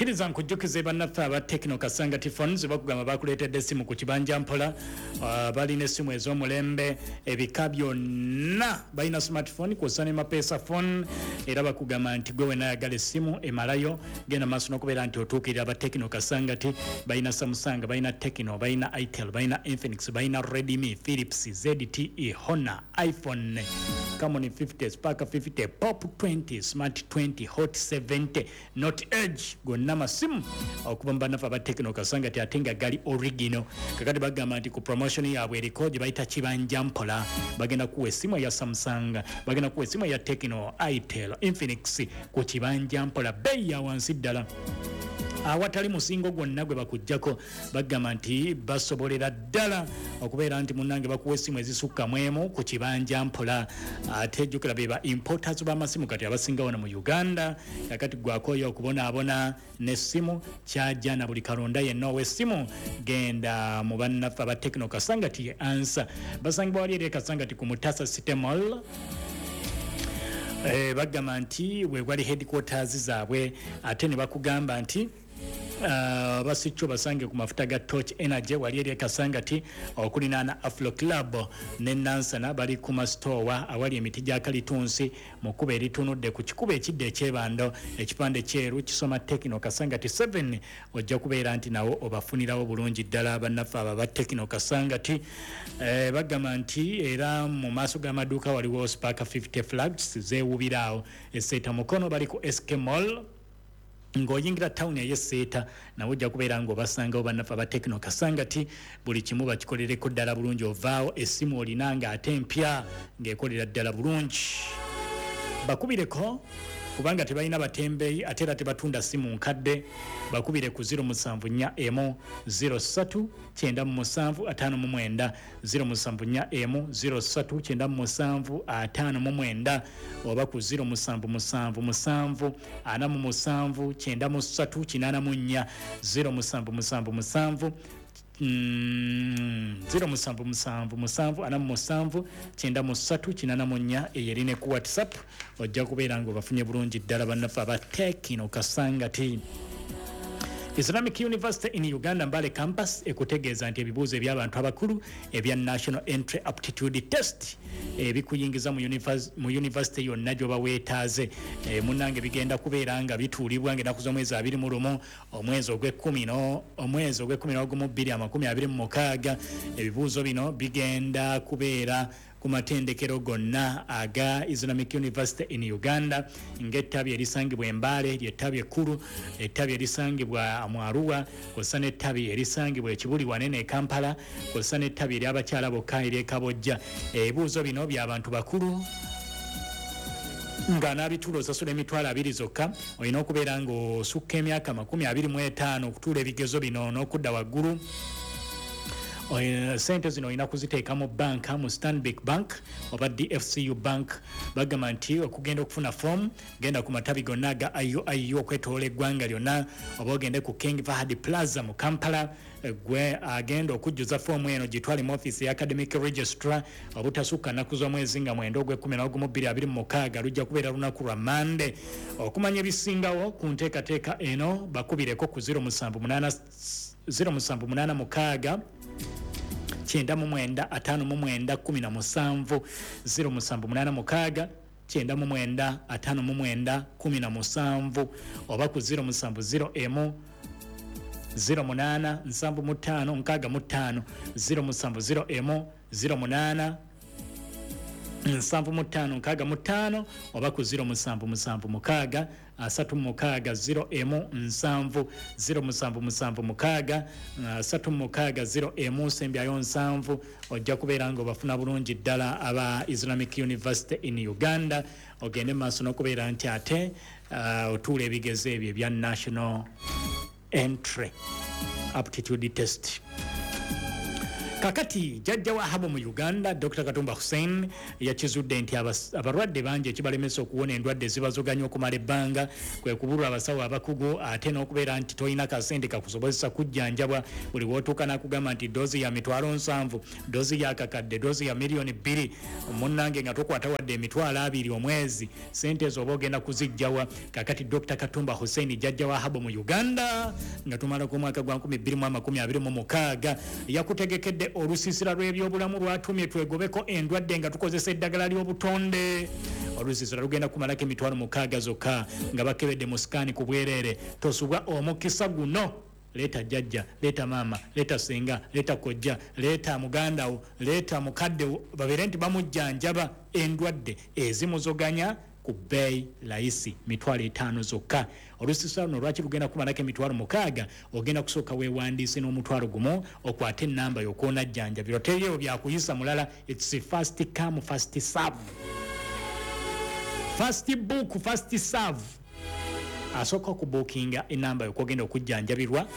Kkiriza nkujjukize, bannaffe aba Tecno Kasangati Phones bakugamba bakuleetedde essimu ku kibanja mpola. Balina essimu ez'omulembe ebika byonna, balina smartphone kwossa ne mapesa phone. Era bakugamba nti gwe wena ayagala essimu emalayo, genda maaso n'okubeera nti otuukirira aba Tecno Kasangati. Balina Samsung, balina Tecno, balina Itel, balina Infinix, balina Redmi, Philips, ZTE, Honor, iPhone, Camon 50, Spark 50, Pop 20, Smart 20, Hot 70, Note Edge. Gonna masimu okuva mu bannaffe aba Tecno Kasangati, ate nga gali original. Kakati bagamba nti ku promotion yaabwe eriko gye bayita kibanja mpola, bagenda kuwa essimu eya Samsung, bagenda kuwa essimu eya Tecno, Itel, Infinix ku kibanja mpola, bbeeyi ya wansi ddala awatali musingo gwonna gwe bakuggyako. Bagamba nti basobolera ddala okubeera nti munnange bakuwa essimu ezisukka mu emu ku kibanja mpola. Ate jjukira be ba importers b'amasimu kati abasinga wano mu Uganda. Kakati gwakoyo okubonaabona n'essimu kyajja na buli kalonda yenna ow'essimu, genda mu bannaffe aba Tecno Kasangati ye ansa. Basangibwa wali eri e Kasangati ku Mutasa City Mall. Bagamba nti wewali headquarters zaabwe, ate ne bakugamba nti basikyo basange ku mafuta ga Torch Energy wali eri Ekasangati okulinaana Afro Club ne Nansana. Bali ku masitowa awali emiti gya kalitunsi mu kkubo eritunudde ku kikubo ekidda ekyebando, ekipande kyeru kisoma Tecno Kasangati 7. Ojja kubeera nti nawo obafunirawo bulungi ddala bannaffe abo aba Tecno Kasangati. Bagamba nti era mu maaso g'amaduuka waliwo Spark 50 flags zeewubiraawo. Eseeta Mukono bali ku SK Mall, ng'oyingira tawuni ey'Esseeta, nawe ojja kubeera ng'obasangawo bannaffe aba Tecno Kasangati. Buli kimu bakikolereko ddala bulungi, ovaawo essimu olina ng'ate mpya ng'ekolera ddala bulungi. Bakubireko kubanga tebalina batembeeyi, ate era tebatunda simu nkadde. Bakubire ku 0741 03 97 59, 0741 03 97 59, oba ku 0777 47 93 84, 0777 0777 47 93 84. Eyo eri ne ku WhatsApp. Ojja kubeera nga obafunye bulungi ddala bannaffe aba Tecno Kasangati. Islamic University in Uganda Mbale Campus ekutegeeza nti ebibuuzo eby'abantu abakulu ebya National Entry Aptitude Test ebikuyingiza mu university yonna gy'oba weetaaze, munnange bigenda kubeera nga bituulibwa ng'ennaku z'omwezi 21 omwezi ogw'ekkumi no omwezi ogw'e11 2026. Ebibuuzo bino bigenda kubeera ku matendekero gonna aga Islamic University in Uganda, ng'ettabi erisangibwa Embaale lyettabi ekkulu, ettabi erisangibwa mu Arua, kw'ossa n'ettabi erisangibwa Ekibuli wanene e Kampala, kw'ossa n'ettabi ery'abakyala bokka ery'Ekabojja. Ebibuuzo bino by'abantu bakulu nga n'abituula osasula 20,000 zokka. Olina okubeera ng'osukka emyaka 25 okutuula ebigezo bino n'okudda waggulu. Sente zino olina kuziteeka mu banka, mu Stanbic Bank oba DFCU Bank. Bagamba nti okugenda okufuna fomu, genda ku matabi gonna aga IUIU okwetoola eggwanga lyonna, oba ogende ku King Fahad Plaza mu Kampala. Gwe agenda okujjuza foomu eno, gitwale mu ofiisi ya academic registrar obutasukka nnaku z'omwezi nga 9 ogw'e11 2026. Lujja kubeera lunaku lwa Mande. Okumanya ebisingawo ku nteekateeka eno, bakubireko ku 078 0786 99 59 17, 0786 99 59 17, oba ku 0701 08 75 65, 0701 08 75 65, oba ku 0776 36 01 70, 0776 36 01 sembyayo 70. Ojja kubeera nga obafuna bulungi ddala aba Islamic University in Uganda, ogende maaso n'okubeera nti ate otuula ebigezo ebyo ebya National Entry Aptitude Test. Kakati jjajja wa Habo mu Uganda, Dr Katumba Hussein, yakizudde nti abalwadde bangi ekibalemesa okuwona endwadde zibazoganya okumala ebbanga kwe kubulwa abasawo abakugu, ate n'okubeera nti tolina kasente kakusobozesa kujjanjabwa. Buli w'otuuka n'akugamba nti doozi ya 700,000, doozi ya 1,000, doozi ya 2 million. Munnange, nga tokwata wadde 20,000 omwezi, sente ezo oba ogenda kuzijjawa? Kakati Dr Katumba Hussein, jjajja wa Habo mu Uganda, nga tumalako omwaka gwa 2026, yakutegekedde olusiisira lw'ebyobulamu lwatumye twegobeko endwadde nga tukozesa eddagala ly'obutonde. Olusiisira lugenda kumalako 60,000 zokka nga bakebedde mu sikaani ku bwereere. Tosubwa omukisa guno. Leeta jjajja, leeta maama, leeta senga, leeta kojja, leeta muganda wo, leeta mukadde wo, babeere nti bamujjanjaba endwadde ezimuzoganya ku bbeeyi layisi, 50,000 zokka. Olusiisira luno lwaki lugenda kumalako 60,000? Ogenda kusooka weewandiise n'10,000, okwate enamba yokwonajjanjabirwa. Teriyo byakuyisa mulala. It's first come, first serve, first book, first serve. Asooka okubuukinga enamba yokwogenda okujjanjabirwa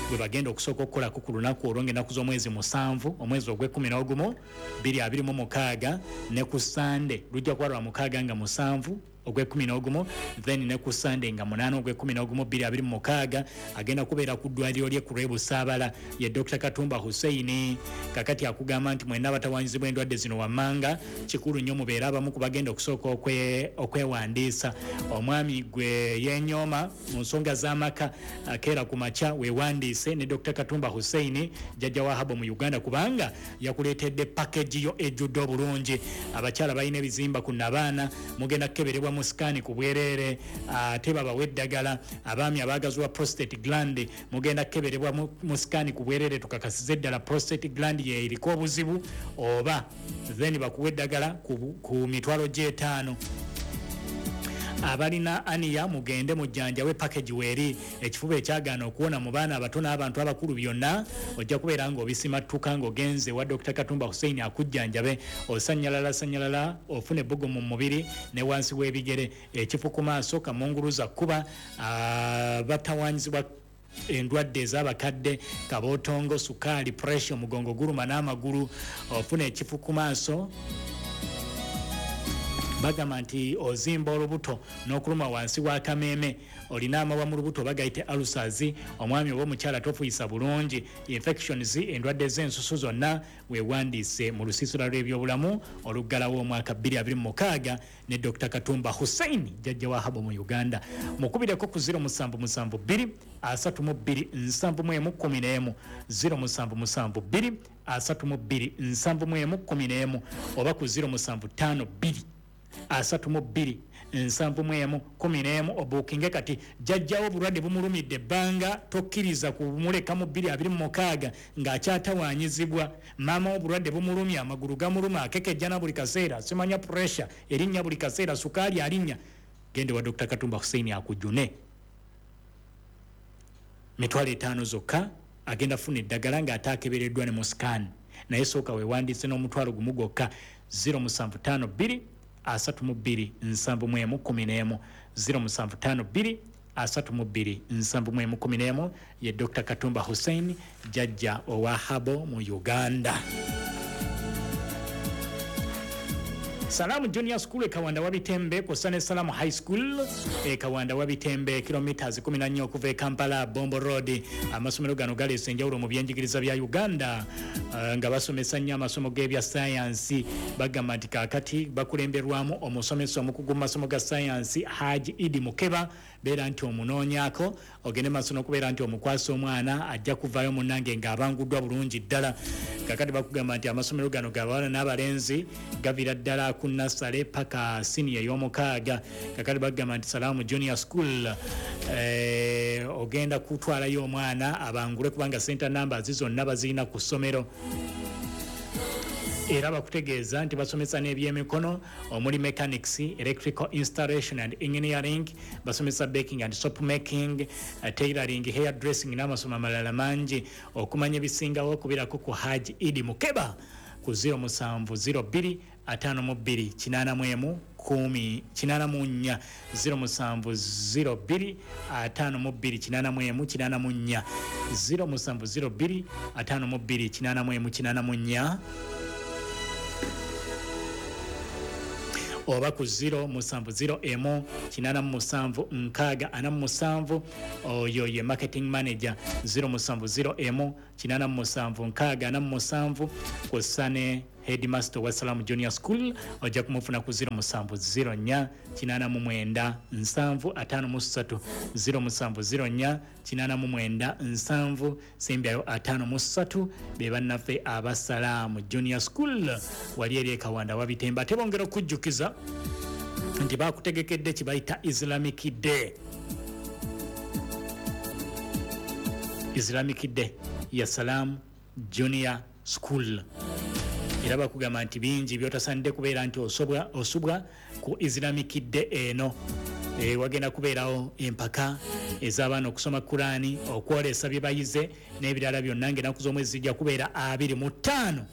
bwe bagenda okusooka okukolako ku lunaku olwo, ngaennaku z'omwezi 7, omwezi ogw'e-11, 2026, ne ku Sande lujja kuba lwa 6 nga 7 ogw'e-11, then ne ku Sande nga 8 ogw'e-11 2026. Agenda kubeera ku ddwaliro lye ku lw'ebusaabala. Ye Dr Katumba Hussein. Kakati akugamba nti mwenna abatawanyizibwa endwadde zino wammanga, kikulu nnyo mubeere abamu ku bagenda okusooka okwewandiisa. Omwami gwe yenyooma mu nsonga z'amaka, akeera ku makya weewandiise ne Dr Katumba Hussein, jjajja wa Habo mu Uganda, kubanga yakuleetedde package yo ejjudde obulungi. Abakyala balina ebizimba ku nabaana, mugenda kukeberebwa mu sikaani ku bwereere, ate babawe eddagala. Abaami abaagazibwa prostate gland, mugenda kukeberebwa mu sikaani ku bwereere, tukakasize eddala prostate gland yeriko obuzibu oba, then bakuwa eddagala ku 50,000. Abalina hernia, mugende mujjanjawe, package weeri. Ekifuba ekyagaana okuwona mu baana abato n'abantu abakulu, byonna ojja kubeera ng'obisimattuka ng'ogenze wa Dr Katumba Hussein akujjanjabe. Osanyalala sanyalala, ofuna ebbugo mu mubiri ne wansi w'ebigere, ekifu ku maaso, kamunguluza kuba batawanyizibwa endwadde ez'abakadde, kabootongo, sukaali, pressure, omugongo guluma n'amagulu, ofuna ekifu ku maaso, bagamba nti ozimba olubuto n'okuluma wansi w'akameeme, olina amawa mu lubuto bagayite ulcers, omwami oba omukyala tofuyisa bulungi, infections, endwadde z'ensusu zonna, weewandiise mu lusiisira lw'ebyobulamu oluggalawo omwaka 2026 ne Dr Katumba Hussein, jjajja wa Habo mu Uganda. Mukubireko ku 0772 32 71 11, 0772 32 71 11, oba ku 0752 32 71 11, obuukinge kati. Jjajjawo obulwadde bumulumidde ebbanga, tokkiriza kumuleka mu 2026 ng'akyatawaanyizibwa. Maama obulwadde bumulumya, amagulu gamuluma, akekejjana buli kaseera, simanya pressure erinnya buli kaseera, sukaali alinnya, gende wa Dr Katumba Hussein akujune. 50,000 zokka, agenda funa eddagala ng'ate akebereddwa ne mu scan. Naye sooka weewandiise n'10,000 gwokka: 0752 32 71 11, 0752 32 71 11. Ye Dr Katumba Hussein, jjajja owa Habo mu Uganda. Salamu Junior School e Kawanda Wabitembe kw'ossa ne Salamu High School e Kawanda Wabitembe, kilometers 14 okuva e Kampala, Bombo Road. Amasomero gano galeese enjawulo mu byenjigiriza bya Uganda, nga basomesa nnyo amasomo g'ebya sayansi. Bagamba nti kaakati bakulemberwamu omusomesa omukugu mu masomo ga sayansi, Haji Idi Mukeba. Beera nti omunoonyaako, ogende maaso n'okubeera nti omukwasa omwana, ajja kuvaayo munnange ng'abanguddwa bulungi ddala. Kakati bakugamba nti amasomero gano gabawala n'abalenzi, gavira ddala ku nursery paka siniya ey'omukaaga. Kakati bagamba nti Salaamu Junior School, ogenda kutwalayo omwana abangule, kubanga center numbers zonna bazirina ku ssomero. Era bakutegeeza nti basomesa n'ebyemikono omuli mechanics, electrical installation and engineering, basomesa baking and soap making, tailoring, hair dressing n'amasomo amalala mangi. Okumanya ebisingawo, okubirako ku Haji Idi Mukeba ku 0702 52 81. 10 84 0702 52 81 84 0702 52 81 84 oba ku 0 7 0 emu 87 6 47. Oyo ye marketing manager 0 7 0 emu 87 6 47, kw'ossa ne headmaster wa Salamu Junior School, ojja kumufuna ku 0 7 0 4 89 7 53 0 7 0 4 89 7 sembyayo 53. Be bannaffe Abasalaamu Junior School wali eri Ekawanda Wabitemba. Ate bongera okujjukiza nti bakutegekedde kibayita Islamic Day, Islamic Day ya Salamu Junior School. Era bakugamba nti bingi byotasanidde kubeera nti osubwa ku Islamic Day eno. Wagenda kubeerawo empaka ez'abaana okusoma Kurani, okwolesa bye bayize n'ebirala byonna, ng'ennaku z'omwezi zijja kubeera 25.